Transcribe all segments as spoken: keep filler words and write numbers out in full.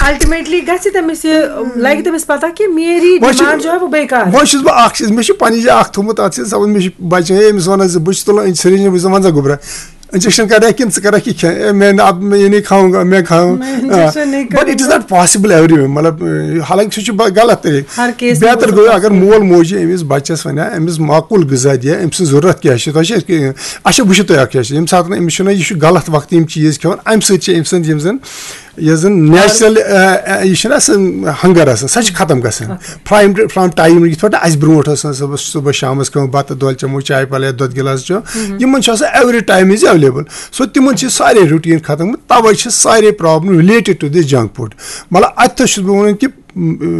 Ultimately گژھِ تٔمِس یہِ، لگہِ تٔمِس پتہ کہِ میری وۄنۍ چھِ- ڈیمانڈ جو ہے وہ بیکار ہے۔ وۄنۍ چھُس بہٕ اکھ چیٖز، مےٚ چھُ پننہِ جایہِ اکھ تھوٚمُت، اتھ چھِ سپوز مےٚ چھُ بچہِ، ہے، أمِس ونان زِ بہٕ چھُس تُلان سرینجر، بہٕ چھُس دپان، ژٕ گوٚبرا، انجیکشن کرا کِنہٕ ژٕ کرکھ یہِ کھٮ۪ن؟ اے، میں نہ، اب میں یہ نہیں کھاؤں گا، میں کھاؤں۔ میں انجیکشن نہیں but it is کروں گا۔ Not possible everyone، مطلب، حالانکہ سُہ چھُ غلط طریقہٕ۔ ہر کیس بہتر گوٚو اگر مول موج یہِ أمِس بچس ونہِ ہا، أمِس معقول غذا دِیا، أمۍ سٕنٛز ضروٗرت کیٛاہ چھِ، تۄہہِ چھِ اچھا بہٕ چھُس تۄہہِ اکھ چیٖز، ییٚمہِ ساتہٕ أمِس چھُنہ، یہِ چھُ غلط وقتہٕ یِم چیٖز کھٮ۪وان، امہِ سۭتۍ چھِ أمۍ سٕنٛز یِم زن یۄس زن نیچرل، یہِ چھُنہ سُہ ہنگر آسان، سۄ چھِ ختم گژھان۔ فرام فرام ٹایم یِتھ پٲٹھۍ اَسہِ برونٛٹھ ٲس آسان صُبحس، صُبحس شامس کھٮ۪وان بتہٕ دۄد چٮ۪مو، چاے پلے دۄد گِلاس چٮ۪و، یِمن چھُ آسان ایوری ٹایم از ایویلیبل۔ سو تِمن چھِ سارے روٹیٖن ختم گٔمٕتۍ، توے چھِ سارے problem related to this junk food۔ مطلب اتہِ تہِ چھُس بہٕ ونان کہِ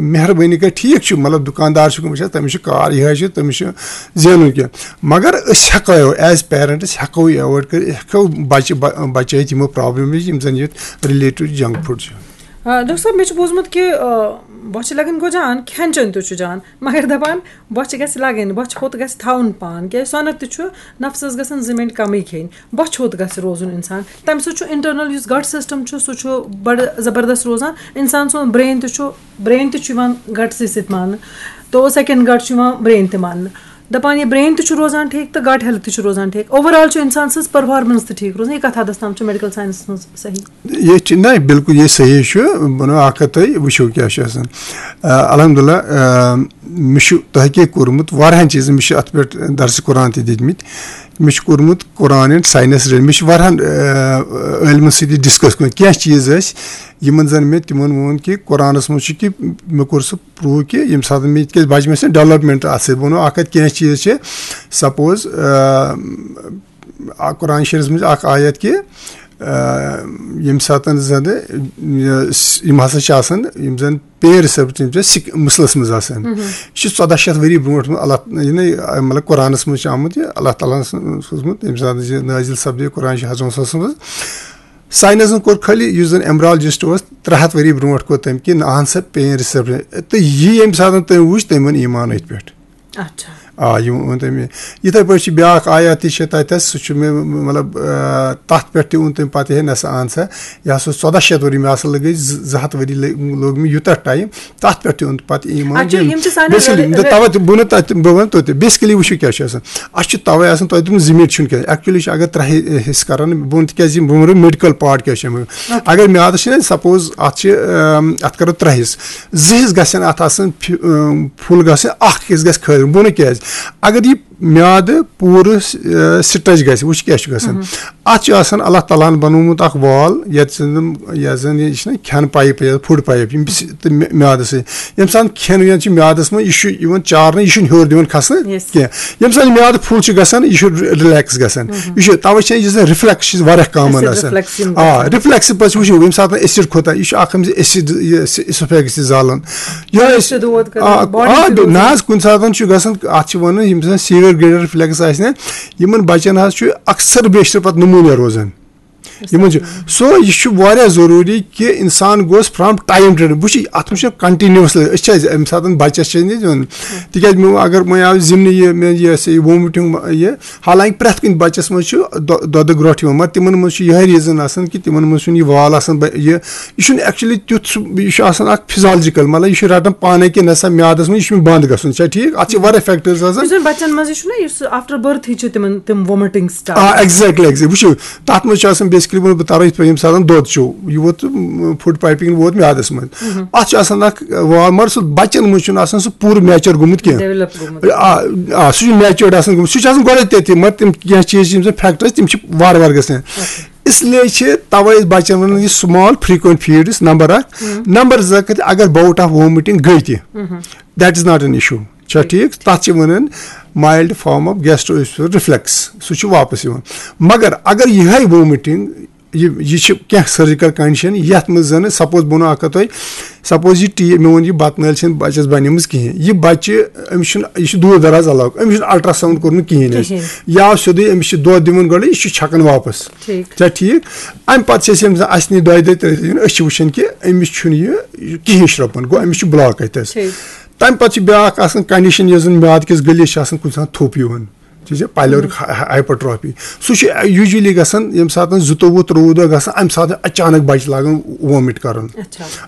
مہربٲنی کٔرِتھ، ٹھیٖک چھُ، مطلب دُکاندار چھُ وٕچھان، تٔمِس چھُ کار یِہوٚے چھُ، تٔمِس چھُ زینُن کینٛہہ۔ مگر أسۍ ہٮ۪کو، as parents ہٮ۪کو یہِ ایوایڈ کٔرِتھ، ہٮ۪کو بچہِ ب- بچٲیِتھ یِمو پرابلم نِش، یِم زن یہِ related junk food چھِ۔ آ، ڈاکٹر صٲب، مےٚ چھُ بوٗزمُت کہِ، آ، بۄچھِ لگان گوٚو جان، کھٮ۪ن چٮ۪ن تہِ چھُ جان، مگر دپان بۄچھِ گژھِ لگٕنۍ، بۄچھِ ہوٚت گژھِ تھاوُن پان، کیازِ سۄنت تہِ چھُ، نفسس گژھن زٕ مِنٹ کمٕے کھیٚنۍ، بۄچھِ ہوٚت گژھِ روزُن انسان۔ تمہِ سۭتۍ چھُ internal یُس gut system چھُ، سُہ چھُ بڑٕ زبردست روزان۔ انسان سُنٛد brain تہِ چھُ، brain تہِ چھُ یِوان گٹسٕے سۭتۍ ماننہٕ، تو second gut چھُ یِوان brain تہِ ماننہٕ۔ دپان، یہِ brain تہِ چھُ روزان ٹھیٖک تہٕ gut health تہِ چھُ روزان ٹھیٖک، overall چھُ انسان سٕنٛز performance تہِ ٹھیٖک روزان۔ یہِ کتھ حدس تام چھُ medical science منٛز صحیح؟ یہِ چھِ، نہ، بِلکُل یہِ صحیح چھُ۔ بہٕ وَنو اکھ کتھ تۄہہِ، وٕچھِو کیٛاہ چھُ آسان۔ آ، الحمدللہ، آ، مےٚ چھُ تحقیٖق کوٚرمُت واریاہن چیٖزن، مےٚ چھُ اتھ پٮ۪ٹھ درسِ قرآن تہِ دِتمٕتۍ۔ مےٚ چھُ کوٚرمُت قرآن and science related، مےٚ چھُ واریاہن، آ، عٲلمن سۭتۍ ڈسکس کوٚرمُت۔ کینٛہہ چیٖز ٲسۍ، یِمن زن مےٚ تِمن ووٚن کہِ قرآنس منٛز چھُ کہِ، مےٚ کوٚر سُہ پروٗو کہِ ییٚمہِ ساتہٕ مےٚ، تِکیٛازِ بچہِ مےٚ چھِ development اتھ سۭتۍ۔ بہٕ وَنو اکھ کتھ، کینٛہہ چیٖز چھِ، سپوز، آ، آ، قرآن شریٖفس منٛز اکھ آیت کہِ، آ، ییٚمہِ ساتہٕ زن یہِ س-، یِم ہسا چھِ آسان، یِم زن pain receptor، یِم چھِ سِک-، muscles منٛز آسان۔ یہِ چھُ ژۄداہ شیٚتھ ؤری برونٛٹھ، اللہ، یعنی، مطلب، قرآنس منٛز چھُ آمُت یہِ، اللہ تعالیٰ ہن سوٗزمُت، ییٚمہِ ساتہٕ یہِ نٲزِل سپدے، قرآن چھُ حضرت صلی اللہ علیہ وسلم۔ ساینسن کوٚر خٲلی، یُس زن embryologist اوس، ترٛےٚ ہتھ ؤری برونٛٹھ کوٚر تٔمۍ کہِ نہ ہن سا pain receptor۔ تہٕ یہِ ییٚمہِ ساتہٕ تٔمۍ وٕچھ، تٔمۍ اوٚن ایمان أتھۍ پٮ۪ٹھ۔ اچھا۔ آ، یہِ اوٚن تٔمۍ۔ یِتھے پٲٹھۍ چھِ بیٛاکھ آیات تہِ چھِ تتٮ۪س، سُہ چھُ مےٚ، مطلب، آ، تتھ پٮ۪ٹھ تہِ اوٚن تٔمۍ پتہٕ، ہے نہ سا، اہن سا، یہِ ہسا اوس ژۄداہ شیٚتھ ؤری، مےٚ ہسا لگے زٕ، زٕ ہتھ ؤری لٔگۍ، لوٚگ مےٚ یوٗتاہ ٹایم، تتھ پٮ۪ٹھ تہِ اوٚن پتہٕ ایمان۔ اچھا، یِم چھِ سانٮ۪ن basically، رِ-، یِم تہِ رِ-، توے تہِ بہٕ نہٕ تتہِ، بہٕ ونہٕ توتہِ، basically وٕچھِو کیٛاہ چھُ آسان۔ اَسہِ چھُ توے آسان، تۄہہِ دوٚپمُت زٕ مِنٹ چھُنہٕ کینٛہہ، actually چھُ اگر ترٛےٚ حصہٕ کران، بہٕ وَنہٕ تِکیٛازِ یِم، بہٕ وَنہٕ medical part کیٛاہ چھُ اَمیُک۔ اگر میادس چھِ نہ، سپوز اتھ چھِ، اَم، اتھ کرو ترٛےٚ حصہٕ، زٕ حصہٕ گژھن اتھ آسٕنۍ فی-، اَم، فُل گژھٕنۍ، اکھ حصہٕ گژھِ خٲلی۔ بہٕ وَنہٕ کیٛازِ۔ اگر یہِ میادٕ پوٗرٕ، آ، stretch گژھِ، وٕچھ کیٛاہ چھُ گژھان۔ اتھ چھُ آسان اللہ تعالیٰ ہن بنوومُت اکھ wall، یتھ زن، یتھ زن یہِ چھِنہ کھٮ۪ن pipe یا food pipe، یِم س-، تہٕ مے-، میادس سۭتۍ۔ ییٚمہِ ساتہٕ کھٮ۪ن وٮ۪ن چھُ میادس منٛز، یہِ چھُ یِوان چارنہٕ، یہِ چھُنہٕ ہیوٚر دِوان کھسنہٕ Yes۔ کینٛہہ۔ ییٚمہِ ساتہٕ یہِ میادٕ فُل چھُ گژھان، یہِ چھُ relax گژھان۔ یہِ چھُ، توے چھِ یُس زن reflux چھِ واریاہ common Acid آسان۔ Reflux یِم آ، گژھان۔ Reflux پتہٕ وٕچھِو، ییٚمہِ ساتہٕ acid کھوٚت، یہِ چھُ اکھ أمِس acid، یہِ esophagus تہِ زالان۔ یِہوٚے أسۍ چھِ دود کران، آ، body آ، تہِ دود۔ نہ حظ، کُنہِ ساتہٕ چھُ گژھان، اتھ چھِ ونان، ییٚمہِ ساتہٕ severe grade reflux آسہِ نہ، یِمن بچن حظ چھُ اکثر بیشتر پتہٕ pneumonia روزان۔ یِمن چھُ، سو یہِ چھُ واریاہ ضروٗری کہِ انسان گوٚژھ from time to time، وٕچھ اتھ منٛز چھُ continuously، أسۍ چھِ اَسہِ امہِ ساتہٕ بچس چھِ أسۍ دِوان، تِکیازِ مےٚ اگر وۄنۍ آو زِمنہٕ یہِ، مےٚ یہِ ہسا یہِ vomiting یہِ، حالانکہِ پرٛٮ۪تھ کُنہِ بچس منٛز چھُ دۄ-، دۄدٕ گرٛوٹھ یِوان، مگر تِمن منٛز چھُ یِہوٚے reason آسان کہِ تِمن منٛز چھُنہٕ یہِ wall آسان، بہ-، یہِ، یہِ چھُنہٕ actually تیُتھ سُہ، یہِ چھُ آسان اکھ physiological، مطلب یہِ چھُ رٹان پانے کہِ نسا میادس منٛز یہِ چھُ مےٚ بنٛد گژھُن، چھا ٹھیٖک؟ اتھ چھِ واریاہ factors آسان۔ یُس زن بچن منٛز یہِ چھُنہ، یُس after birth ہٕے چھِ تِمن، تِم vomiting start۔ آ، exactly، exactly۔ وٕچھِو، تتھ منٛز چھُ آسان basically ووٚنمُت بہٕ ترو یِتھ پٲٹھۍ، ییٚمہِ ساتہٕ دۄد چیوٚو، یہِ ووت، م، food piping ووت میادس منٛز۔ اتھ چھُ آسان اکھ wall، مگر سُہ بچن منٛز چھُنہٕ آسان سُہ پوٗرٕ mature گوٚمُت کینٛہہ۔ Develop گوٚمُت۔ آ، آ، سُہ چھُ matured آسان گوٚمُت، سُہ چھُ آسان گۄڈے تٔتھی، مگر تِم کینٛہہ چیٖز چھِ یِم زن factors، تِم چھِ وارٕ وارٕ گژھان۔ اس لیے چھِ توے أسۍ بچن ونان یہِ small frequent feeds، number اکھ۔ Number زٕ، کہِ اگر bout of vomiting گٔے تہِ، that is not an issue۔ چھا ٹھیٖک؟ تتھ چھِ ونان mild form of gastro reflux، سُہ چھُ واپس یِوان۔ مگر اگر یِہے vomiting، یہِ، یہِ چھِ کینٛہہ surgical condition، یتھ منٛز زن سپوز بہٕ ونہٕ اکھ کتھ تۄہہِ، سپوز یہِ ٹی، مےٚ ووٚن یہِ بتہٕ نٲلۍ چھَنہٕ بچس بنیمٕژ کِہیٖنۍ، یہِ بچہِ، أمِس چھُنہٕ، یہِ چھُ دوٗر دراز علاقہٕ، أمِس چھُنہٕ ultrasound کوٚرمُت کِہیٖنۍ اَسہِ۔ کِہیٖنۍ۔ یا سیوٚدُے أمِس چھِ دۄد دِوان گۄڈٕ، یہِ چھُ چھکان واپس۔ ٹھیٖک۔ چھا ٹھیٖک؟ امہِ پتہٕ چھِ أسۍ أمِس، اسہِ نِش دۄیہِ دۄہہِ ترٛیہِ دۄہہِ دِوان، أسۍ چھِ وٕچھان کہِ أمِس چھُنہٕ یہِ کِہیٖنۍ شرٛوپان، گوٚو أمِس چھُ block اَتہِ حظ۔ ٹھیٖک۔ تمہِ پتہٕ چھِ بیٛاکھ آسان condition، یۄس زن میادٕ کِس گٔلِس چھِ آسان کُنہِ ساتہٕ تھوٚپ یِوان۔ ٹھیٖک چھا؟ Pyloric hy-، hypertrophy۔ سُہ چھُ usually گژھان ییٚمہِ ساتہٕ زٕتووُہ ترٛۆوُہ دۄہ گژھان، امہِ ساتہٕ اچانک بچہِ لاگان vomit کرُن۔ اچھا۔ آ،